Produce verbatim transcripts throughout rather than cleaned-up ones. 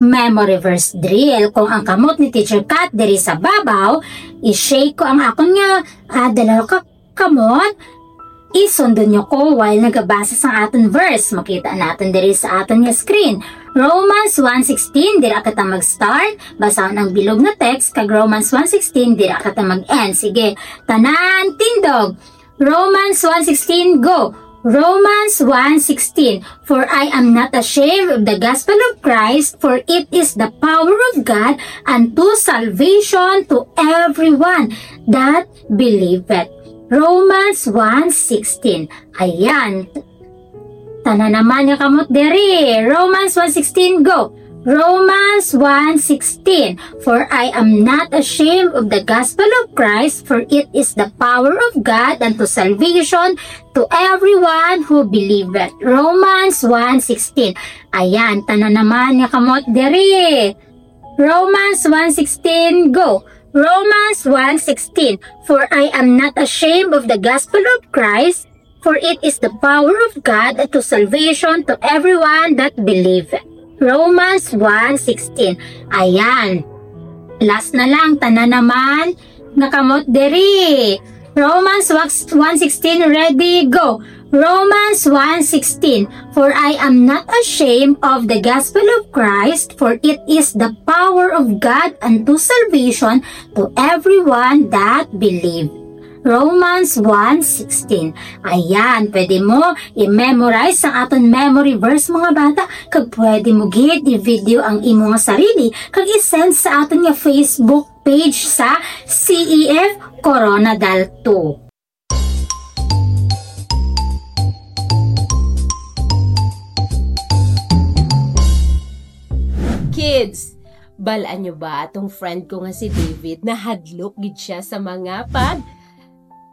Memory verse drill. Kung ang kamot ni Teacher Kat diri sa babaw, i-shake ko ang akon nga, ah, dalawa ka kamot. Isundo nyo ko while nagabasa sang aton verse. Makita naton diri sa aton nga screen. Romans one sixteen, dira kita mag-start. Basahon ang bilog nga text, kag Romans one sixteen, dira kita mag-end. Sige, tanan, tindog. Romans one sixteen, go. Romans one sixteen, "For I am not ashamed of the gospel of Christ, for it is the power of God unto salvation to everyone that believeth." Romans one sixteen. Ayan. Tanan naman nga kamot diri. Romans one sixteen, go. Romans one sixteen, "For I am not ashamed of the gospel of Christ, for it is the power of God unto salvation to everyone who believeth." Romans one sixteen. Ayan, tanan naman nga kamot diri. Romans one sixteen, go. Romans one sixteen, "For I am not ashamed of the gospel of Christ, for it is the power of God to salvation to everyone that believe." Romans one sixteen. Ayan. Last na lang, tanan naman nga kamot diri. Romans one sixteen, ready, go. Romans one sixteen, "For I am not ashamed of the gospel of Christ, for it is the power of God unto salvation to everyone that believe." Romans one sixteen. Ayan, pwede mo i-memorize ang aton memory verse, mga bata, kag pwede mo gid i-video ang imo nga sarili kag i-send sa aton nga Facebook page sa C E F Corona Dal two. Kids, bal-an nyo ba atong friend ko nga si David? Nahadlok gid siya sa mga pag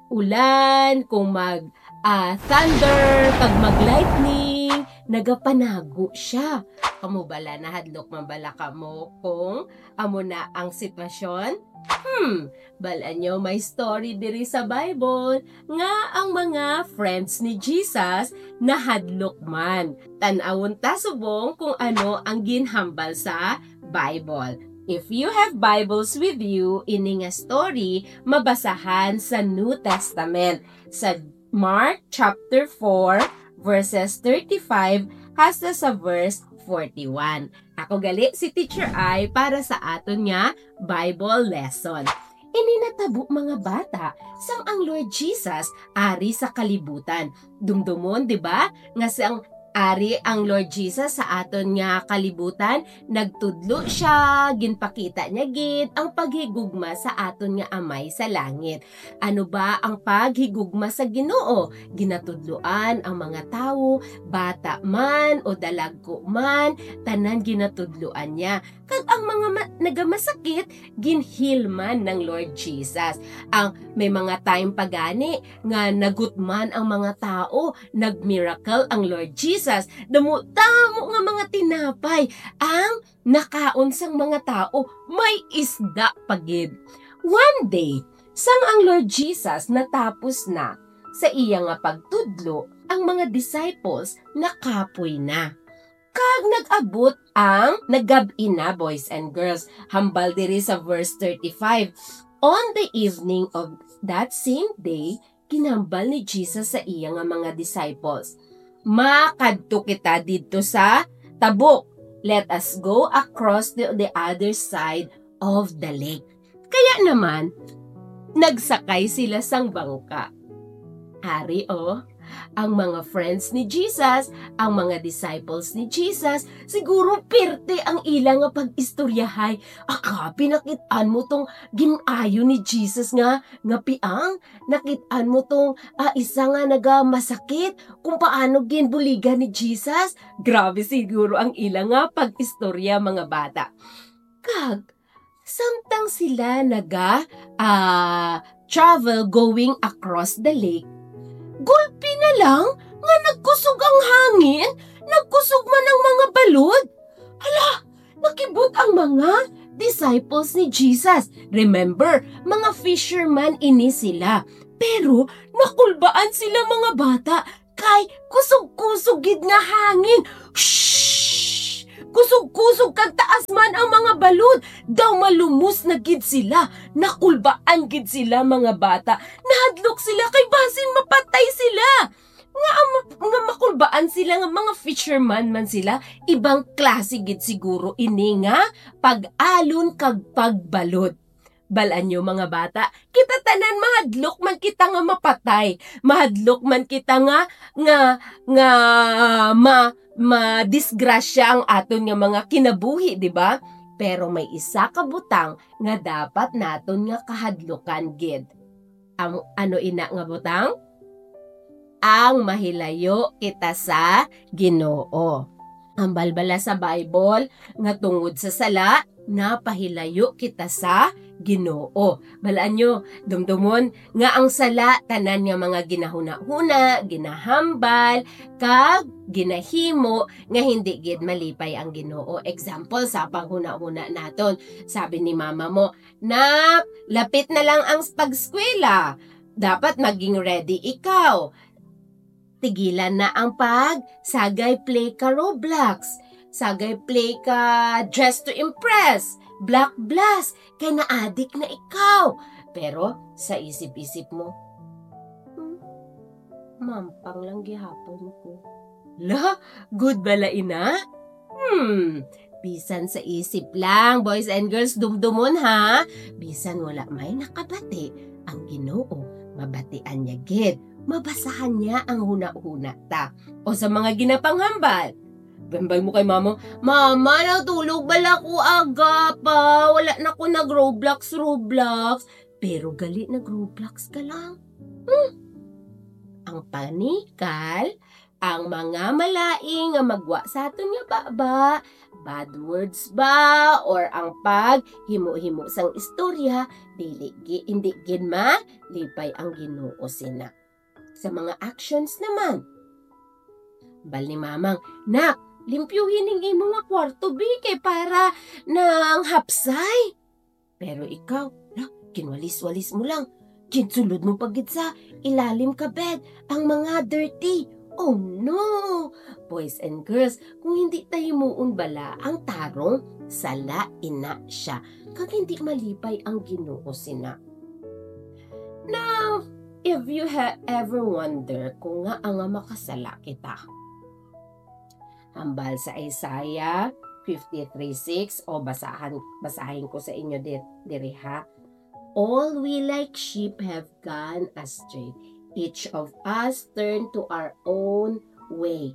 ulan, kung mag, ah, thunder, kag mag lightning, nagapanago siya. Kamo bala, nahadlok man bala kamo kung amo na ang sitwasyon? Hmm, bal-an nyo, may story diri sa Bible nga ang mga friends ni Jesus nahadlok man. Tan-awon ta subong kung ano ang ginhambal sa Bible. If you have Bibles with you, ini nga story mabasahan sa New Testament, sa Mark chapter four, verses thirty-five hasta sa verse forty-one. Ako gali si Teacher Ai para sa aton nga Bible lesson. Ini natabo, mga bata, sang ang Lord Jesus ari sa kalibutan. Dumdomon, di ba, nga sang ari ang Lord Jesus sa aton nga kalibutan, nagtudlo siya, ginpakita niya gid ang paghigugma sa aton nga Amay sa langit. Ano ba ang paghigugma sa Ginoo? Ginatudloan ang mga tawo, bata man o dalagko man, tanan ginatudloan niya. Kag ang mga ma-, nagamasakit, ginheal man ng Lord Jesus. Ang may mga time pa gani nga nagutman ang mga tawo, nag-miracle ang Lord Jesus. Damo-damo nga mga tinapay ang nakaon sang mga tawo, may isda pa gid. One day, sang ang Lord Jesus natapos na sa iya nga pagtudlo, ang mga disciples nakapoy na. Kag nag-abot ang nagab-i na, boys and girls. Hambal diri sa verse thirty-five, "On the evening of that same day," ginhambal ni Jesus sa iya nga mga disciples, "Makadto kita didto sa tabok. Let us go across to the other side of the lake." Kaya naman, nagsakay sila sang bangka. Ari, oh, ang mga friends ni Jesus, ang mga disciples ni Jesus, siguro perte ang ila nga pag-istoryahay. Aka, pinakit-an mo tong gin-ayo ni Jesus nga, nga piang? Nakit-an mo tong, ah, isa nga nagamasakit? Kung paano ginbuligan ni Jesus? Grabe siguro ang ila nga pag-istorya, mga bata. Kag, samtang sila naga, ah, travel going across the lake, gulpi na lang nga nagkusog ang hangin, nagkusog man ang mga balod. Hala, nakibot ang mga disciples ni Jesus. Remember, mga fisherman ini sila. Pero nakulbaan sila, mga bata, kay kusog-kusog gid nga hangin. Shh! Kusog-kusog kag taas man ang mga balod. Daw malumos na gid sila. Nakulbaan gid sila, mga bata. Nahadlok sila kay basin mapatay sila. Nga, nga makulbaan sila, nga mga fisherman man sila, ibang klase gid siguro ini nga pag-alon kag pagbalod. Balaan nyo, mga bata, kita tanan mahadlok man kita nga mapatay, mahadlok man kita nga, nga, nga ma-, madisgrasya ang aton nga mga kinabuhi, di ba? Pero may isa ka butang nga dapat naton nga kahadlukan gid. Ang ano ina nga butang? Ang mahilayo kita sa Ginoo. Ang balbala sa Bible nga tungod sa sala, napahilayo kita sa Ginoo. Balaan nyo, dumdumon nga ang sala, tanan nga mga ginahuna-huna, ginahambal, kag ginahimo nga hindi gid malipay ang Ginoo. Example, sa paghuna-huna naton, sabi ni mama mo, "Nak, lapit na lang ang pag-eskwela. Dapat maging ready ikaw. Tigilan na ang pag, sagay play ka Roblox. Sagay play ka Dress to Impress, Block Blast, kay naadik na ikaw." Pero sa isip-isip mo, "Hmm, mampang lang gihapon ko." La, good bala ina? Hmm, bisan sa isip lang, boys and girls, dumdumon ha. Bisan wala may nakabati, ang Ginoo, mabatian niya gid, mabasahan niya ang hunahuna ta. O sa mga ginapanghambal, hambal mo kay mama, "Mama, natulog bala ko aga pa. Wala na ko nag-Roblox, Roblox." Pero gali nag-Roblox ka lang. Hmm. Ang panikal, ang mga malaing nga magwa sa aton nga baba, bad words ba, or ang paghimo-himo sang istorya, dili gi-, hindi gid malipay ang Ginoo sina. Sa mga actions naman, hambal ni mamang, "Nak, limpyuhi ning imo nga kwarto, bi, kay para nang hapsay." Pero ikaw, la, kinwalis-walis mo lang. Ginsulod mo pa gid sa ilalim ka bed ang mga dirty. Oh no! Boys and girls, kung hindi ta himuon bala ang tarong, sala ina siya, kag hindi malipay ang Ginoo sina. Now, if you ha-, ever wonder kung ngaa nga makasala kita, hambal sa Isaiah fifty-three six, o basahan, basahin ko sa inyo di-, diri ha. "All we like sheep have gone astray. Each of us turned to our own way."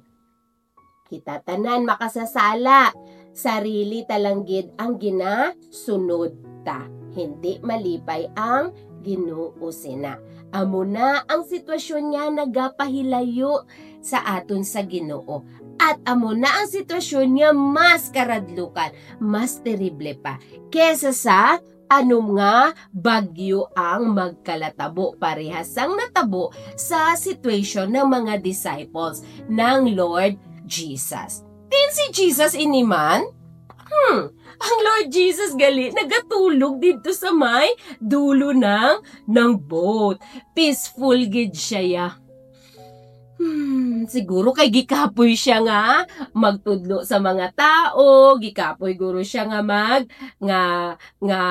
Kita tanan makasasala. Sarili ta lang gid ang ginasunod ta. Hindi malipay ang Ginoo sina. Amo na ang sitwasyon nga nagapahilayo sa aton sa Ginoo. At amo na ang sitwasyon nga mas karadlukan, mas terrible pa, kesa sa ano nga bagyo ang magkalatabo, parehas sang natabo sa situation ng mga disciples ng Lord Jesus. Din si Jesus ini man? Hmm, ang Lord Jesus gali nagatulog didto sa may dulo ng, ng boat. Peaceful gid siya, ya. Hmm, siguro kay gikapoy siya nga magtudlo sa mga tao, gikapoy guro siya nga mag-, nga, nga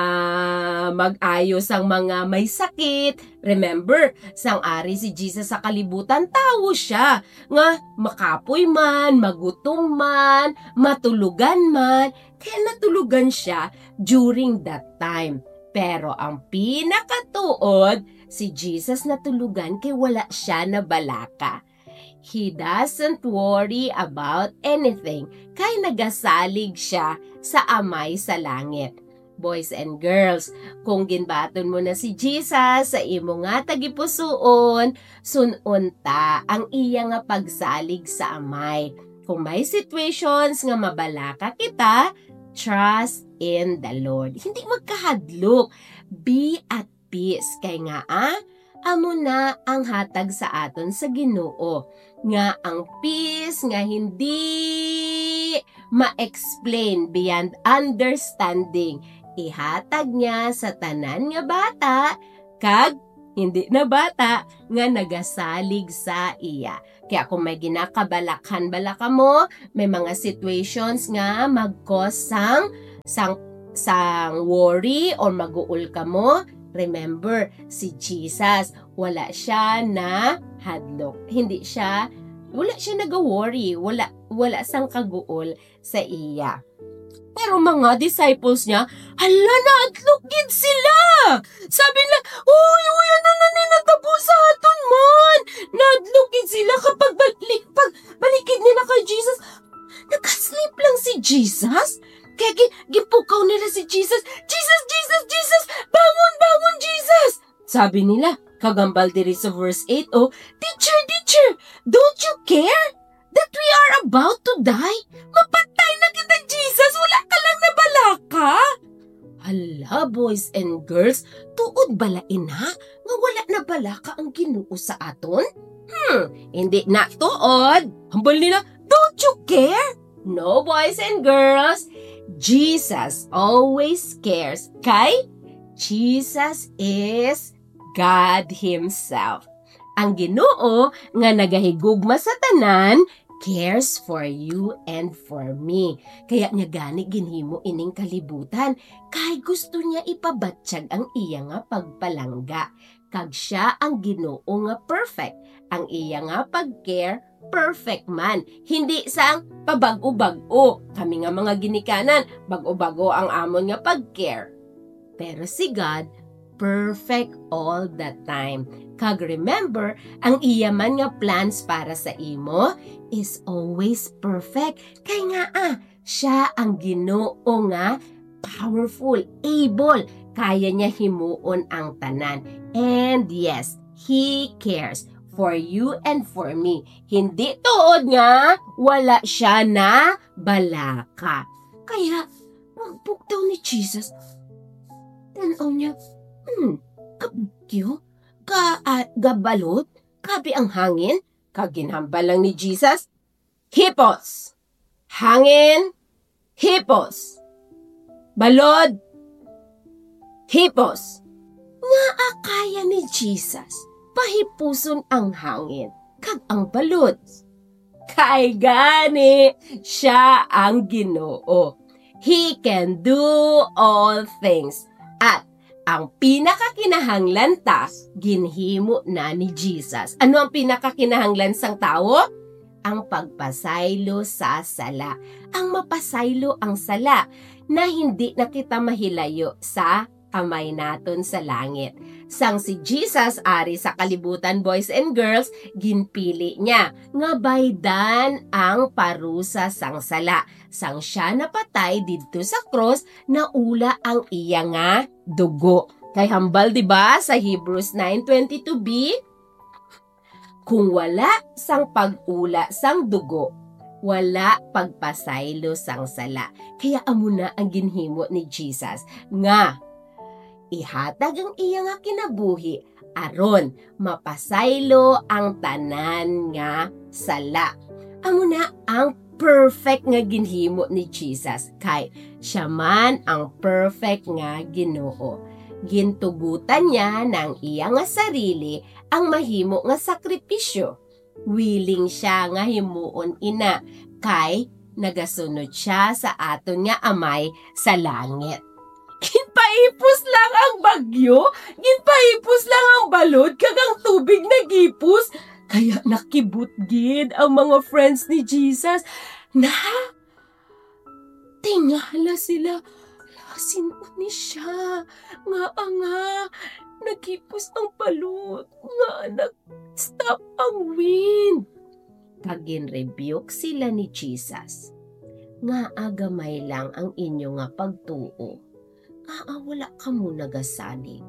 mag-ayo sang mga may sakit. Remember, sang ari si Jesus sa kalibutan, tawo siya nga makapoy man, magutom man, matulugan man, kaya natulugan siya during that time. Pero ang pinakatuod, si Jesus natulugan kay wala siya nabalaka. He doesn't worry about anything, kay nagasalig siya sa Amay sa langit. Boys and girls, kung ginbaton mo na si Jesus sa imo nga tagipusoon, sun-on ta ang iya nga pagsalig sa Amay. Kung may situations nga mabalaka kita, trust in the Lord. Hindi magkahadlok. Be at peace. Kay nga, ah, amo na ang hatag sa aton sa Ginoo, nga ang peace nga hindi ma-explain beyond understanding, ihatag niya sa tanan nga bata kag hindi na bata nga nagasalig sa iya. Kaya kung may ginakabalakhan bala kamo, may mga situations nga mag-cause sang, sang, sang worry or maguol kamo, remember, si Jesus, wala siya na hadlok. Hindi siya, wala siya nag-worry, wala, wala sang kaguol sa iya. Pero mga disciples niya, hala, naadlok gid sila. Sabi nila, "Uy, uy, ano na ni natabo sa aton man?" Naadlok gid sila kapag balik, pag balikid nila kay Jesus. Nakasleep lang si Jesus. Kaya gi-, gipukaw nila si Jesus, "Jesus, Jesus, Jesus, bangon, bangon, Jesus!" Sabi nila, kagambal diri sa verse eight, oh, "Teacher, teacher, don't you care that we are about to die? Mapatay na kita, Jesus. Wala ka lang nabalaka." Hala, boys and girls, tuod bala ina nga wala nabalaka ang Ginoo sa aton? Hmm, hindi na tuod. Hambal nila, "Don't you care?" No, boys and girls, Jesus always cares. Kay Jesus is God Himself. Ang Ginoo nga nagahigugma sa tanan cares for you and for me. Kaya niya gani ginhimo ining kalibutan, kay gusto niya ipabatyag ang iya nga pagpalangga. Kag siya ang Ginoo nga perfect. Ang iya nga pag-care, perfect man. Hindi sang pabag-o-bag-o. Kami nga mga ginikanan, bag-o-bag-o ang amon nga pag-care. Pero si God, perfect all the time. Kag remember, ang iya man nga plans para sa imo is always perfect. Kay nga, ah, siya ang Ginoo nga powerful, able. Kaya niya himuon ang tanan. And yes, He cares for you and for me. Hindi tuod nga wala siya na balaka. Kaya, pagbugtaw ni Jesus, tan-aw niya, hmm, kabugyo, ka, ah, gabalod, grabe ang hangin. Kag ginhambal lang ni Jesus, "Hipos! Hangin! Hipos! Balod! Hipos!" Ngaa kaya ni Jesus pahipuson ang hangin kag ang balod? Kay gani, siya ang Ginoo. He can do all things. At ang pinakakinahanglan ta, ginhimo na ni Jesus. Ano ang pinakakinahanglan sang tawo? Ang pagpasaylo sa sala. Ang mapasaylo ang sala na hindi na kita mahilayo sa Amay naton sa langit. Sang si Jesus ari sa kalibutan, boys and girls, ginpili niya nga baydan ang parusa sang sala. Sang siya napatay didto sa krus, naula ang iya nga dugo. Kay hambal, di ba, sa Hebrews nine twenty-two b, "Kung wala sang pag-ula sang dugo, wala pagpasaylo sang sala." Kaya amo na ang ginhimo ni Jesus, nga ihatag ang iya nga kinabuhi aron mapasaylo ang tanan nga sala. Amo na ang perfect nga ginhimo ni Jesus, kay siya man ang perfect nga Ginoo. Gintugutan niya na ang iya nga sarili ang mahimo nga sakripisyo. Willing siya nga himuon ina, kay nagasunod siya sa aton nga Amay sa langit. Ginpahipos lang ang bagyo, ginpahipos lang ang balod, kag ang tubig naghipos. Kaya nakibot gid ang mga friends ni Jesus. Na, tingala sila, "Hala, sin-o ni siya? Ngaa nga naghipos ang balod? Ngaa nag-stop ang wind?" Kag ginrebuke sila ni Jesus, "Ngaa gamay lang ang inyo nga pagtuo? Ngaa wala kamo nagasalig?"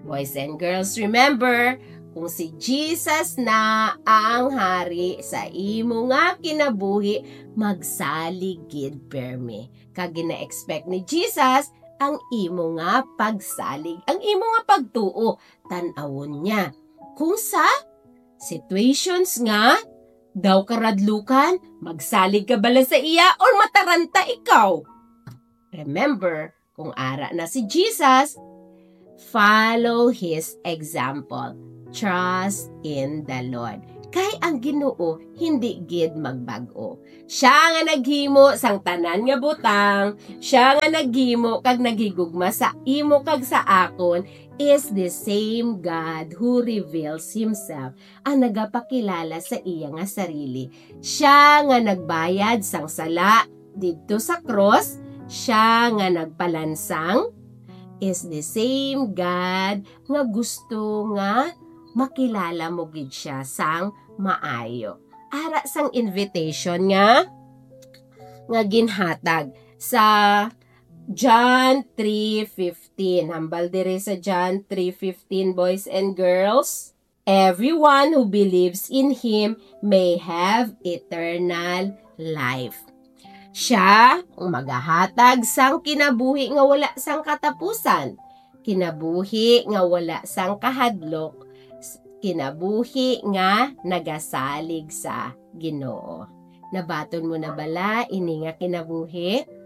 Boys and girls, remember, kung si Jesus na ang hari sa imo nga kinabuhi, magsalig gid permi. Kag gina-expect ni Jesus ang imo nga pagsalig, ang imo nga pagtuo. Tan-awon niya kung sa situations nga daw karadlukan, magsalig ka bala sa iya or mataranta ikaw. Remember, kung ara na si Jesus, follow his example. Trust in the Lord. Kay ang Ginoo hindi gid magbag-o. Siya nga naghimo sang tanan nga butang, siya nga naghimo kag naghigugma sa imo kag sa akon is the same God who reveals himself, ang nagapakilala sa iya nga sarili. Siya nga nagbayad sang sala didto sa krus, siya nga nagpalansang, is the same God nga gusto nga makilala mo gid siya sang maayo. Ara sang invitation nga, nga ginhatag sa John three fifteen. Hambal diri sa John three fifteen, boys and girls. "Everyone who believes in him may have eternal life." Siya ang magahatag sang kinabuhi nga wala sang katapusan, kinabuhi nga wala sang kahadlok, s-, kinabuhi nga nagasalig sa Ginoo. Nabaton mo na bala ini nga kinabuhi?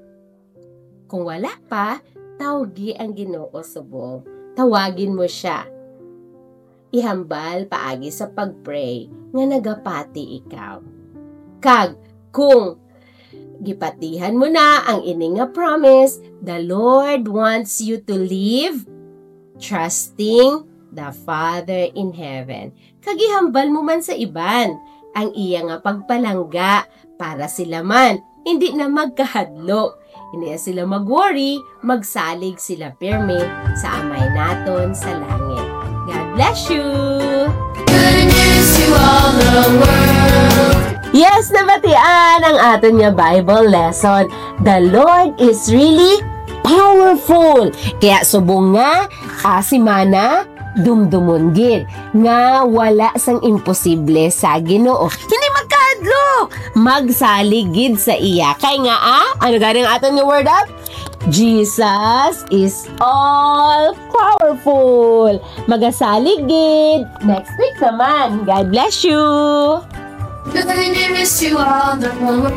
Kung wala pa, tawgi ang Ginoo subong. Tawagin mo siya. Ihambal paagi sa pag-pray nga nagapati ikaw. Kag kung gipatihan mo na ang ini nga promise, the Lord wants you to live trusting the Father in heaven. Kag ihambal mo man sa iban ang iya nga pagpalangga para sila man hindi na magkahadlok. Hindi na sila mag-worry, magsalig sila pirmi sa Amay naton sa langit. God bless you! Good news to all the world. Yes, nabatian ang aton nga Bible lesson. The Lord is really powerful. Kaya subong nga, ah, semana, dumdumon gid nga wala sang imposible sa Ginoo. Hindi magkahadlok. Magsalig gid sa iya. Kay nga, ah, ano gani ang aton nga word up? Jesus is all powerful. Magasalig gid. Next week naman. God bless you. Good news to all the world.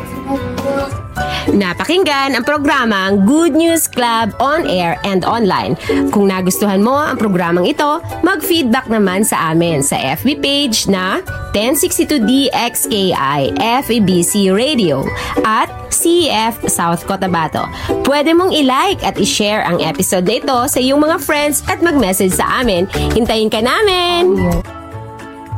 Napakinggan ang programang Good News Club on air and online. Kung nagustuhan mo ang programang ito, mag-feedback naman sa amin sa F B page na ten sixty-two D X K I F E B C Radio at C F South Cotabato. Pwede mong i-like at i-share ang episode na ito sa iyong mga friends at mag-message sa amin. Hintayin ka namin!